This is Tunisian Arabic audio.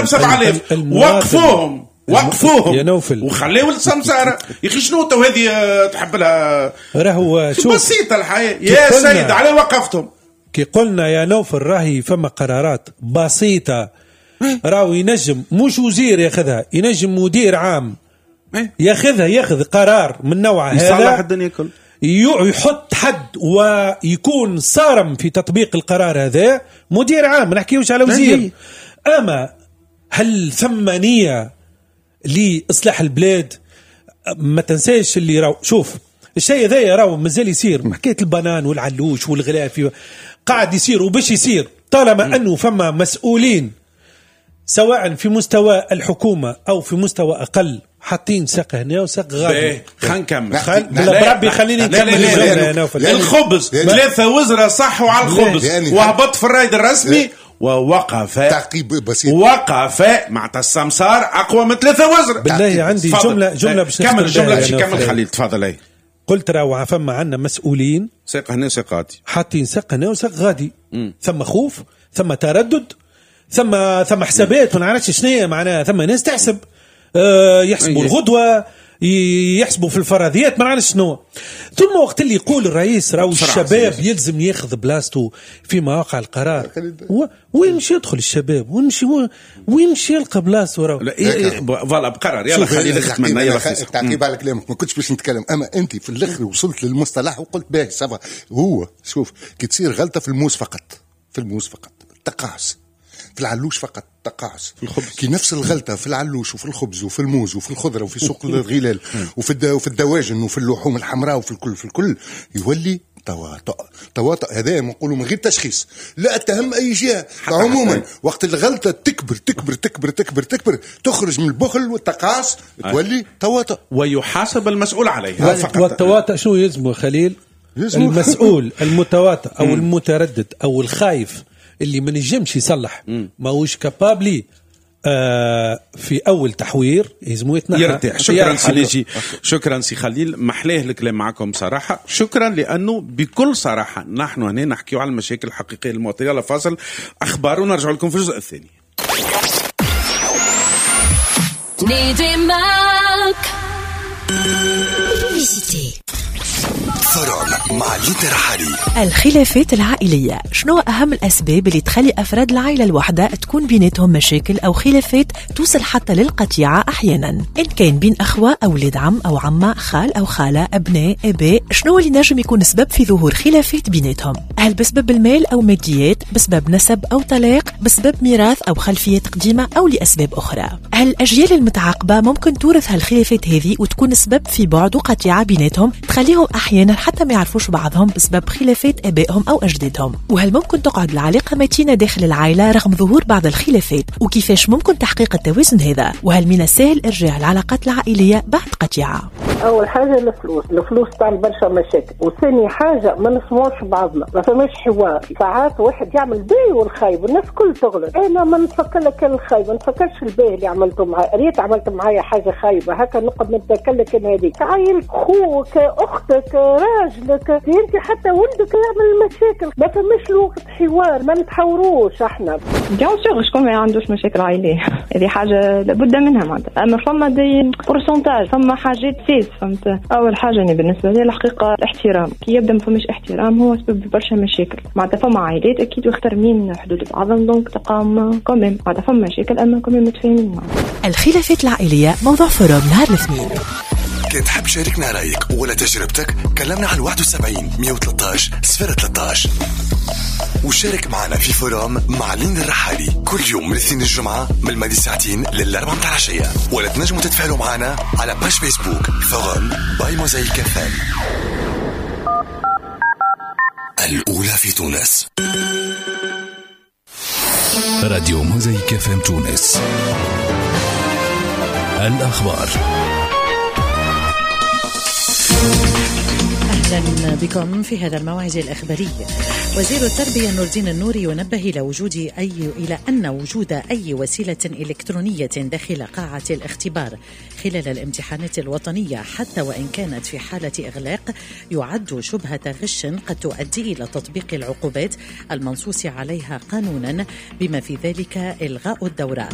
ب 7000 وقفوهم وقفوهم يا نوفل وخليوا السمسارة. يا اخي شنو تو هذه تحب لها؟ راهو شوف بسيطة الحياة يا سيد، على وقفتهم. كي قلنا يا نوفل راهي فما قرارات بسيطة، راهو ينجم مش وزير ياخذها، ينجم مدير عام ياخذها، ياخذ قرار من نوع هذا يصلح الدنيا كل، يحط حد ويكون صارم في تطبيق القرار هذا. مدير عام، ما نحكيوش على وزير. أما هل ثم نية لإصلاح البلاد؟ ما تنساش اللي راو، شوف الشيء هذا راهو مازال يصير، حكاية البنان والعلوش والغلاف قاعد يصير وباش يصير، طالما أنه فما مسؤولين سواء في مستوى الحكومة أو في مستوى أقل حاطين ساق هنا وساق غادي. خلينا نكمل. بربي خليني نكمل. الخبز 3 وزراء صحوا على الخبز وهبط في الرايد الرسمي ووقف. تعقيب بسيط. وقف مع السمسار أقوى من 3 وزراء. بالله عندي جملة باش كمل الجملة باش يكمل خليل. تفضل. اي قلت راهو فما عندنا مسؤولين ساق هنا وساق غادي، حاطين ساق هنا وساق غادي. ثم خوف، ثم تردد، ثم حسابات ما نعرفش شنو معناها. ثم ناس تحسب، يحسبوا الغدوة، يحسبوا في الفرضيات، ما نعرفش شنو. ثم وقت اللي يقول الرئيس راهو الشباب يلزم ياخذ بلاصته في مواقع القرار، وين مشي يدخل الشباب؟ وين مشي يلقى بلاصته؟ راهو voilà بقرار. يلا خلينا نختم. يلا تعقيب على كلامك، ما كنتش باش نتكلم، اما انت في الاخر وصلت للمصطلح وقلت باهي ça va. هو شوف كي تصير غلطه في الموس فقط، في الموس فقط تقاعس، في العلوش فقط تقاعس، في الخبز كي نفس الغلطة في العلوش وفي الخبز وفي الموز وفي الخضرة وفي سوق الغلال وفي الدواجن وفي اللحوم الحمراء وفي الكل، في الكل يولي تواطؤ. تواطؤ هذا نقولوا من غير تشخيص، لا اتهم اي جهة عموما. وقت الغلطة تكبر تكبر تكبر تكبر تكبر تخرج من البخل والتقاعس تولي تواطؤ ويحاسب المسؤول عليها فقط. والتواطؤ شو يلزمه خليل؟ المسؤول المتواطئ او المتردد او الخايف اللي ما نجمش يصلح، ماهوش capable في اول تحوير يلزمو يتنحى، يرتاح. شكرا سي ناجي، شكرا سي خليل، محلاه الكلام معكم صراحة. شكرا لانه بكل صراحة نحن هنا نحكيو على المشاكل الحقيقية للمواطنين. يلا فاصل اخبار ونرجع لكم في الجزء الثاني. forum مع لينا رحالي. الخلافات العائلية، شنو أهم الأسباب اللي تخلي أفراد العائلة الواحدة تكون بيناتهم مشاكل أو خلافات توصل حتى للقطيعة أحيانا، إن كان بين أخوة، أولاد عم أو عمة، خال أو خالة، أبناء، آباء؟ شنو اللي نجم يكون سبب في ظهور خلافات بيناتهم؟ هل بسبب المال أو ماديات، بسبب نسب أو طلاق، بسبب ميراث أو خلفيات قديمة، أو لأسباب أخرى؟ هل الأجيال المتعاقبة ممكن تورث هالخلافات هذه وتكون سبب في بعد وقطيعة بيناتهم تخليهم أحيانا حتى ما يعرفوش بعضهم بسبب خلافات آبائهم أو أجدادهم؟ وهل ممكن تقعد العلاقة متينة داخل العائلة رغم ظهور بعض الخلافات؟ وكيفاش ممكن تحقيق التوازن هذا؟ وهل من السهل إرجاع العلاقات العائلية بعد قطيعة؟ أول حاجة الفلوس، الفلوس تعمل برشا مشاكل، وثاني حاجة ما نسمعوش بعضنا، ما فماش حوار، ساعات واحد يعمل باهي والخايب، الناس كل تغلط، أنا ما نتفكر لك الخايب، ما نتفكرش الباهي اللي عملته معايا، ريت عملت معايا حاجة خايبة، هكا نقعد نتذكر لك هذيك، عائلك، خوك، أختك، راجلك، انت حتى ولدك يعمل مشاكل، ما فماش الوقت حوار، ما نتحاوروش احنا. bien sûr شكون ما عندوش مشاكل عائلية، هذه حاجة لابد منها معناتها، اما فما des pourcentages، فما حاجات سيس، فهمت؟ اول حاجة انا بالنسبة لي الحقيقة الاحترام، كي يبدا ما فماش احترام هو سبب برشا مشاكل، معناتها فما عائلات اكيد يحترمين حدود بعضهم donc تقام quand même، معناتها فما مشاكل اما quand même متفاهمين. الخلافات العائلية موضوع forum نهار الاثنين. كان تحب شاركنا رأيك ولا تجربتك كلمنا على 71 113 013 وشارك معنا في forum مع لين الرحالي كل يوم من الاثنين الجمعة من الماضي ساعتين للأربعة متاع العشية، ولا تنجموا تتفاعلوا معنا على page Facebook forum by Mosaïque FM الأولى في تونس. راديو Mosaïque FM تونس. الأخبار. أهلا بكم في هذا الموعد الإخباري. وزير التربية نور الدين النوري ينبه إلى أن وجود أي وسيلة إلكترونية داخل قاعة الاختبار خلال الامتحانات الوطنية حتى وإن كانت في حالة إغلاق يعد شبهة غش قد تؤدي إلى تطبيق العقوبات المنصوص عليها قانونا، بما في ذلك إلغاء الدورة.